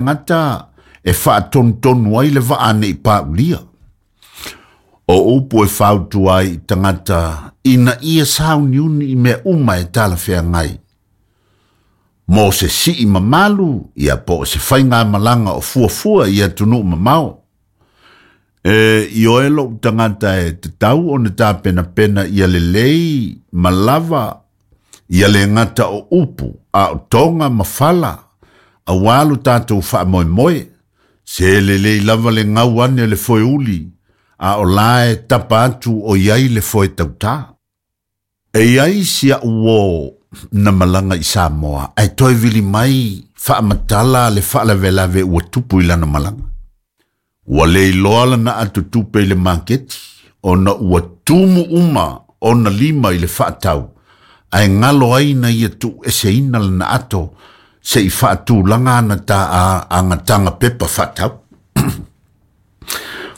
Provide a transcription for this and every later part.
tagata e faatonutonu ai le vaa ne i paulia. O upu e fautua ai i tagata ina ia sauniuni i mea uma e talafeagai. Mo se sii mamalu, ia po o se faigamalaga o fuafua i atunuu mamao. E ioe lou tagata e tatau ona tapenapena ia lelei ma lava ia le gata o upu a o toga ma fala auā lo tatou faamoemoe. Se lelei lava le gau ane o le foeuli a o la e tapa atu o i ai le foe tautā. E i ai si a'u uō na malaga i Samoa ae toe vili mai faamatala le faalavelave ua tupu i lana malaga. Ua le iloa lana ato tupe i le maketi ona ua tumu uma ona lima i le faatau ae galo ai na ia tuueseina lana ato se i faatulaga ana ta agataga pepa faatau.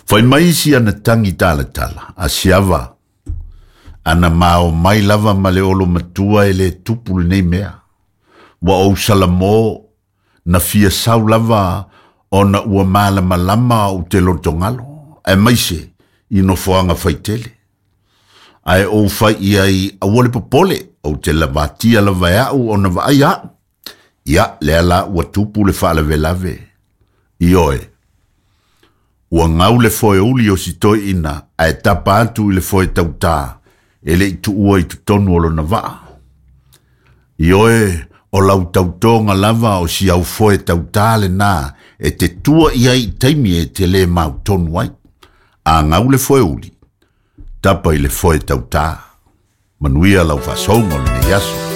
Fai mai isi ana tagi talatala a siava ana mao mai lava ma le olo matua e le tupu lenei mea. Ua ou salamo na fia sau lava ona ua malamalama ou te lotogalo, aemaise i nofoaga faitele. Ae ou fai i ai aua le popole, ou te lavatia lava e a'u ona vaai a'u. Ia, lea la ua tupu le faalavelave. Ioe, ua gau le foeuli o si toeaina ae tapa atu i le foe tautā e le i tuua i totonu o lona vaa. Ioe, o lau tautoga lava o si au foe tautā lenā e te tua i ai i taimi e te lē mautonu ai. A gau le foeuli, tapa i le foe tautā. Manuia lau faasouga o lenei aso.